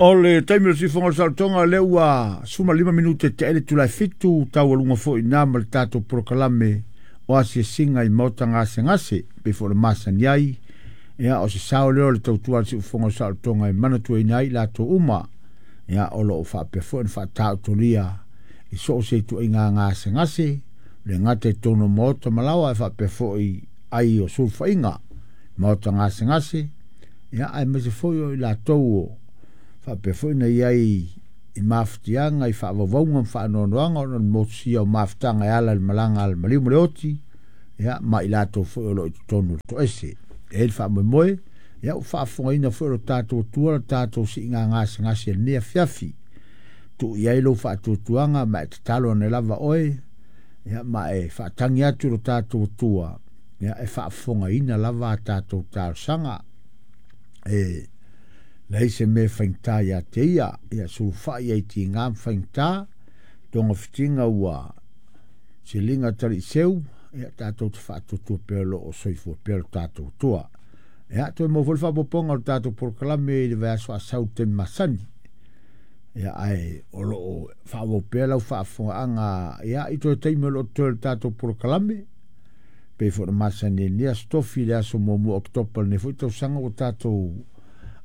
O le taimi o le siufofoga o le saolotoga lea ua 15 minute te ele tulae 7 taualuga foi na ma le tatou polokalame o asiasiga i maota gasegase pei foi o le masani ai. Ia o se sao lea o le tautua a le siufofoga o le saolotoga e manatuaina ai latou uma. Ia o lo o faapea foi ona faataotolia i so o se ituaiga gasegase, le gata i totonu o maota ma laoa, ae faapea foi ai o sulufaiga maota gasegase. Ia aemaise foi o i latou o faapea foi na iai i mafatiaga i faavauvauga ma faanoanoaga ona o le motusia o mafutaga e ala i le malaga a le maliu ma le oti, ia ma i latou foi o lo o i totonu o le toese. E i ai le faamoemoe, ia ua faafofogaina foi o lo tatou Atua le tatou siiga gasegase i lenei afiafi. Tuu i ai lou faatuatuaga ma e tatalo ane lava oe, ia ma e faatagi atu lo tatou Atua, ia e faafofogaina lava a tatou talosaga. E leai se mea e faigata ia te ia, ia sulufai ai tiga ma faigata, togafitiga ua siliga taliiseu, ia tatou te faatuatua pea o lo o soifua pea lo tatou Atua. Ia toe maua foi le faaopoopoga o le tatou polokalame i le vaiaso asau i le taimi masani. Ia ae o lo o faaauau pea lau faafofogaaga ia i toe taimi o lo o totoe o le tatou polokalame. Pei foi ona masani ai lenei aso tofi i le aso 1 o Oketopa lenei foi tausaga ua tatou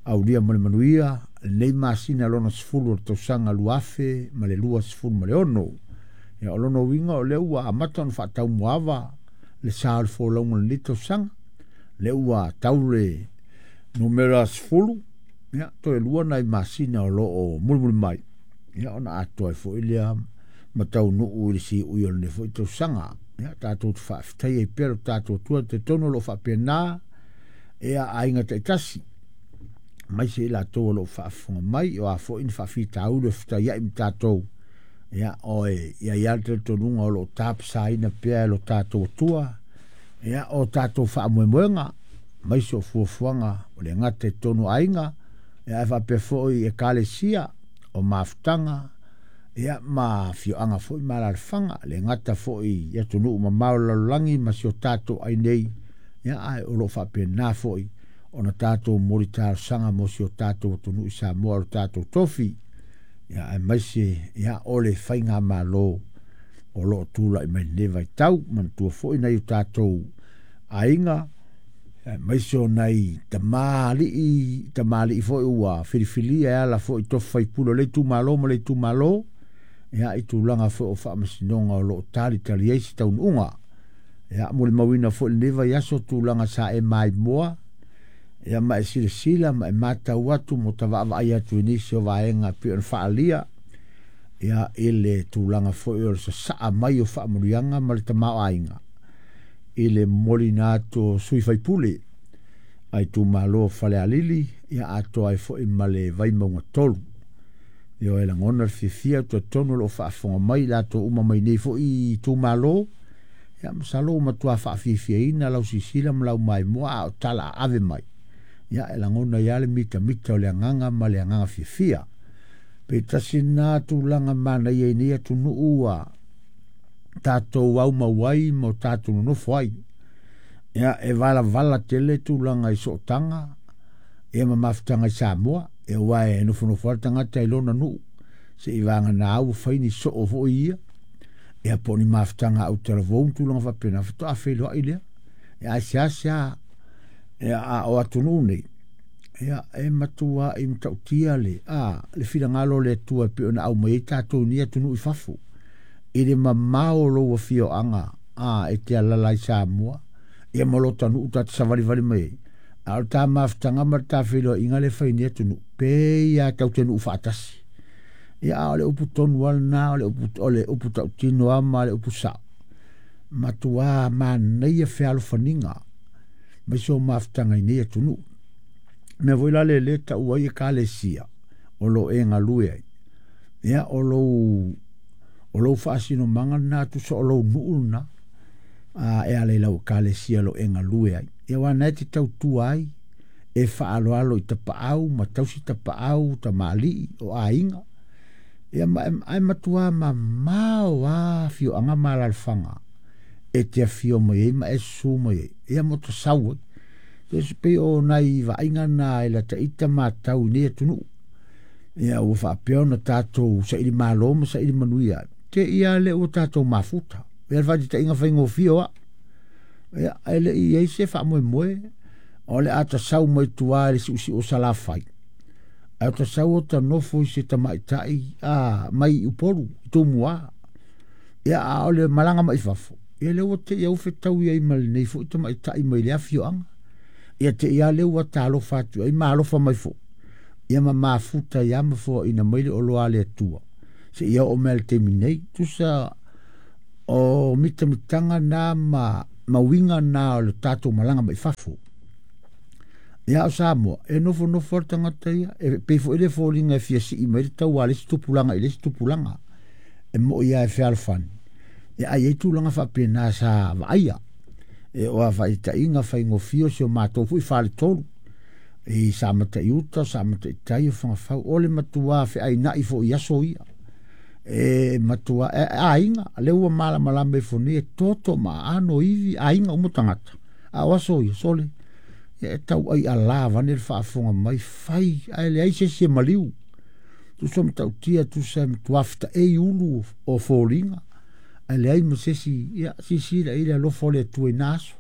aulia ma le manuia lenei masina lona 10 o le tausaga 2026. Ia o lona uiga o lea ua amata ona faataumuaava le sa o le folauga o lenei tausaga. Lea ua tau le numera 10, ia toe 2 nai masina o lo o mulimuli mai, ia ona atoa ai foi lea ma taunuu i le siui o lenei foi tausaga. Ia tatou te faafetai ai pea lo tatou Atua, te tonu o lo o faapena ia aiga taitasi aemaise i latou o lo o faafofoga mai, o a foi ni faafitauli o fetaiai ma tatou, ia oe ia i ai le talitonuga o lo o tapasaina pea e lo tatou Atua ia o tatou faamoemoega, aemaise o fuafuaga o le gata i totonu o aiga, ia ae faapea foi i ekalesia o mafutaga, ia ma afioaga foi ma alaalafaga, le gata foi i atunuu mamao o le lalolagi ma si o tatou ai nei, ia ae o lo o faapena foi ona tatou momoli talosaga mo si o tatou atunuu i Samoa o le tatou tofi, ia aemaise ia o le faigamalo o lo o tulai mai lenei vaitau. Manatua foi nai o tatou aiga, aemaise o nai tamalii foi ua filifilia e ala foi i tofi faipule o le itumalo ma le itumalo, ia i tulaga foi o faamasinoga o lo o talitali ai se taunuuga. Ia molimauina foi lenei vaiaso tulaga sa e maimoa, ia ma e silasila ma e matau atu mo ta vaavaai atu i nisi o vaega pei ona faaalia, ia i le tulaga foi o le sasaa mai o faamanuiaga ma le tamaoaiga i le momoliina atu o sui faipule a itumalo o Falealili, ia atoa ai foi ma le Vaimauga 3. Ia e lagona le fiafia talitonu o lo o faafofoga mai latou uma mai nei foi itumalo, ia masalo ua matua faafiafiaina lau sisila ma lau maimoa a o tala a ave mai. Ia e lagona ia le mitamita o le agaga ma le agaga fiafia. Pe tasi na tulaga manaia i nei atunuu ua tatou aumau ai ma o tatou nonofo ai. Ia e valavala tele tulaga i sootaga, ia ma mafutaga i Samoa, ia aua e nofonofo lava le tagata i lona nuu, se i vagana au fai ni soo foi ia, ia po o ni mafutaga autalavou ma tulaga faapena, faatoa feiloai lea. Ia ae seasea ia a o atunuu nei, ia e matua i matautia le le finagalo o le Atua e pei ona aumai ai tatou i nei atunuu i fafo, i le mamao o lou afioaga e te alaala ai Samoa, ia ma lo ta nuu ta te savalivali mai ai. A o le ta mafutaga ma le ta feiloaiga le fai nei atunuu, pei lava tau te nuu faatasi. Ia a o le upu tonu lava lena, o le upu tautino lava ma le upu sao. Matua manaia fealofaniga mai so mafutaga i nei atunuu. Mea foi la le le tau ai ekalesia o lo e galue ai. Ia o lou faasinomaga lena tusa o lou nuu lena, e ala i lau ekalesia o lo e galue ai. Ia aua na e te tautua ai, e faaaloalo i tapaau ma tausi tapaau, tamalii o aiga. Ia ma ai matua mamao lava afioaga ma alaalafaga e te afio mai ai ma e susu mai ai. Ia mo te sau ai. Se pei o nai vaaiga na e lata ita matau i nei atunuu. Ia ua faapea ona tatou saili malo ma saili manuia te ia le ua tatou mafuta. Ia le faataitaiga faigofie o au. Ia ae le i ai se faamoemoe o le a tasau mai tua i le siusiu o Salafai. Ae o tasau o ta nofo i se tamaitai mai i Upolu, i Tumua. Ia a o le malaga mai fafo, ia lea ua te i au fetau ai ma lenei foi tamaitai mai le afioaga. Ia te ia lea ua talofa atu ai ma alofa mai foi. Ia ma mafuta ia ma foaina mai le oloa le Atua. Se ia o mea le taimi nei. Tusa o mitamitanga na ma mauiga na o le tatou malaga mai fafo. Ia o Samoa, e nofo nofo le tagata ia, e pei foi le foliga e fia sii mai le tau a le isi tupulaga i le isi tupulaga. E moi ia e fealofani. Ia ai ai tulaga faapena sa vaaia. E oa faitainga faigofie o si o matou foi faletolu. I sa matai uta, sa matai tai o whangawhau. O le matua feainai fo i aso ia. E matua, e aiga, le ua malamalama i fo nei, e toto ma ano ivi, aiga umo tangata. A o aso ia, sole. E tau ai a la vane le faafofoga mai, fai, ae leai se isi e maliu. Tusa matautia, tusa matua fetaei ulu o foliga, ae leai ma se isi, ia, sisila i le alofa o le Atua i na aso.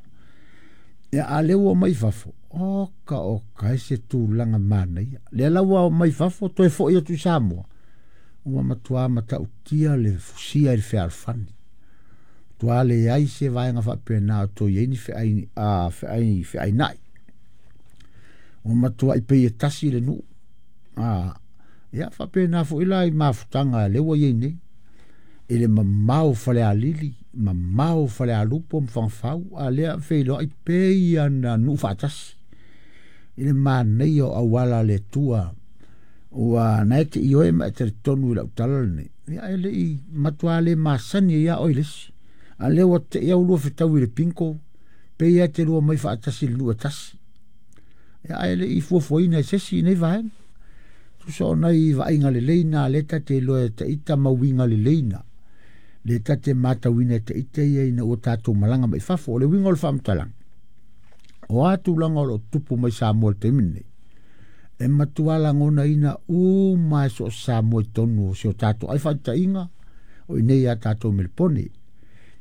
Ia, a lea ua mai fafo, oka oka e se tulaga manaia. Lea la ua mai fafo, toe foi atu i Samoa. Ua matua matautia le fusia i le fealofani. Matua leai se vaega faapena o toe i ai ni feainai. Ua matua i pei e tasi le nuu. Ia faapena foi la i mafutaga lea ua i ai nei. I le mamao Falealili, mamao Falealupo ma Fagafau, a lea feiloai pei ana nuu faatasi. I le manaia o auala le Atua, ua na e te ioe ma e talitonu i lau tala lenei. Ia e le i matua le masani ia oi le isi. A lea ua te ia ulua fetau i le pinko, pei e te lua mai faatasi le nuu e tasi. Ia ae le i fuafuaina e se isi nei vaega. Tusa o nai vaaiga lelei na le tate iloa e taita mauiga lelei na. Le tate matauina e taita ia ina ua tatou malaga mai fafo. O le uiga o le faamatalaga. O a tulaga o lo o tupu mai Samoa i le taimi lenei. E matua lagonaina uma e so o Samoa i totonu o si o tatou ai faataitaiga o i nei a tatou Melepone.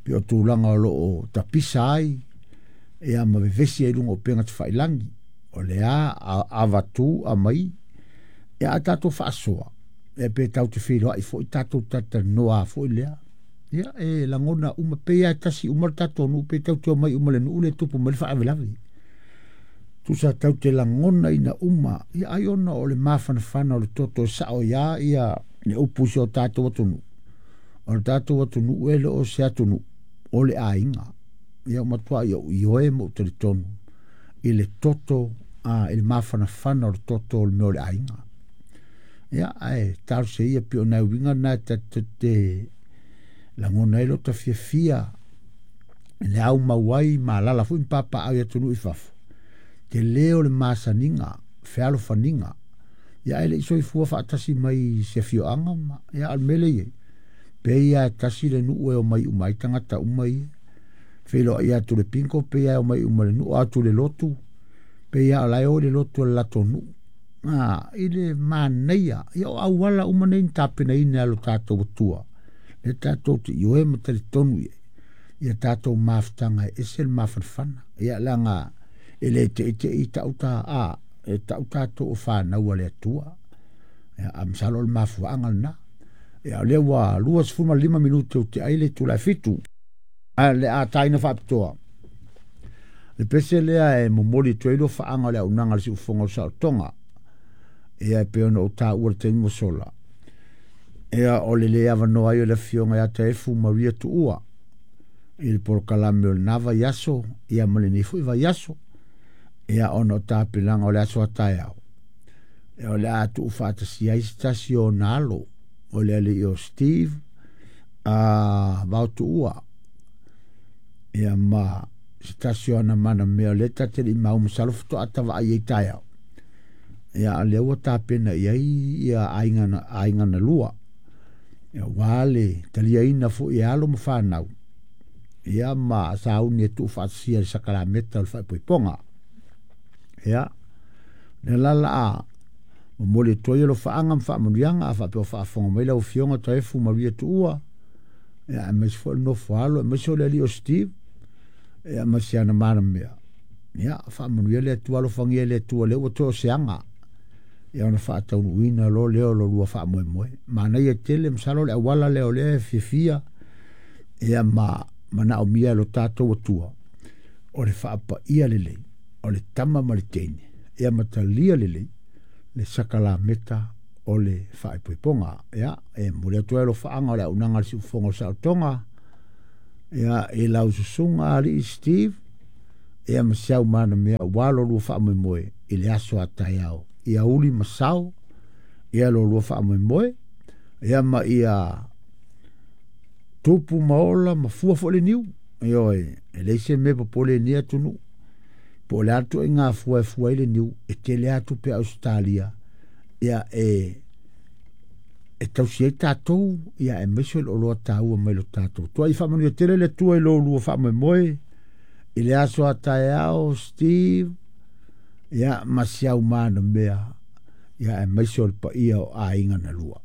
Pe o tulaga o lo o tapisa ai, ia ma vevesi ai luga o upega tafailagi. O le a avatu amai, ia a tatou faasoa, e pe tau te feiloai foi tatou talatalanoa foi lea. Ia e lagona uma pe ia tasi uma le tatou nuu, pe tau te omai uma le nuu le tupu mai le faalavelave. Tusa tau te lagona ina uma, ia ai ona o le mafanafana o le toto e sao ia ia le upu si o tatou atunuu. O le tatou atunuu e le o se atunuu, o le aiga. Ia o matua ia ioe mo talitonu i le toto, i le mafanafana o le toto o le mea o le aiga. Ia, ae talosia ia pei o nai uiga na e te lagona ai lo ta fiafia le au mau ai ma alala foi ma papaau i atunuu i fafo. Te leo le masaniga, fealofaniga. Ia ae le i soifua faatasi mai se afioaga ma, ia o le mea lea i ai. Pei lava e tasi le nuu e omai uma ai tagata uma ia. Feiloai atu le pinko, pei lava e omai uma le nuu, atu le lotu, pei lava o la e o i le lotu o le latou nuu. I le manaia, ia o auala uma nei na tapenaina e lo tatou Atua. Le tatou te ioe ma talitonu i ai. Ia tatou mafutaga e ese le mafanafana. Ia leaga e le teitei tau ta, e tau tatou o whanau a le Atua. Ia, a masalo o le mafuaaga lena. Ia, o lea ua 25 minute o te ai le itula e 7. A le a taina faapitoa. Le pese lea e momoli atu ai lo faaga o le auaunaga a le siufofoga o le saolotoga. Ia e pei ona ou taua le taimi ua sola. Ia o le le avanoa ai o le afioga ia Taefu Maria Tuua i le polokalame o lena vaiaso, ia ma lenei foi vaiaso. Ia ona o tapenaga o le aso a taeao. Ia o le a tuu faatasi ai se tasi o ona alo, o le alii o Steve Vao Tuua. Ia ma se tasi o ana mana mea o lea tate le i mau masalo faatoa tavaai ai taeao. Ia a lea ua tapena i ai ia aiga na lua. Ia ua le taliaina foi e alo ma whanau. Ia ma sauni e tuu faatasia le sakalameta o le faaipoipoga. Ia, le lala a Momoli atu ai alofaaga ma faamanuiaga a faapea o faafofoga mai lau Afioga Taefu Maria Tuua, ia aemaise foi le nofo a alo aemaise o le alii o Steve, ia ma si ana manamea. Ia faamanuia le Atua, alofagia e le Atua lea ua toe o se aga ia ona faataunuuina loa lea o lo lua faamoemoe. Manaia tele, masalo le auala lea o lea e fiafia ia ma manaomia e lo tatou Atua, o le faapaia lelei o le tama ma le teine, ia ma talia lelei le sakalameta o le faaipoipoga. Ia, e momoli atu ai alofaaga o le auaunaga a le Siufofoga o le Saolotoga, ia, i lau susuga alii Steve, ia ma si au manamea aua lo lua faamoemoe i le aso a taeao. Ia uli ma sao, ia lo lua faamoemoe, ia ma ia tupu ma ola ma fua foi le niu. Ioe, e leai se mea e popole i lenei atunuu. Po o le a le ituaiga fua e fua ai le niu, e tele lava tupe a Ausetalia ia e tausi ai tatou, ia aemaise o le oloa taua mai lo tatou. Tuai faamanuia tele le Atua i lo lua faamoemoe i le aso a taeao, Steve, ia ma si au manamea, ia aemaise o le paia o aiga na lua.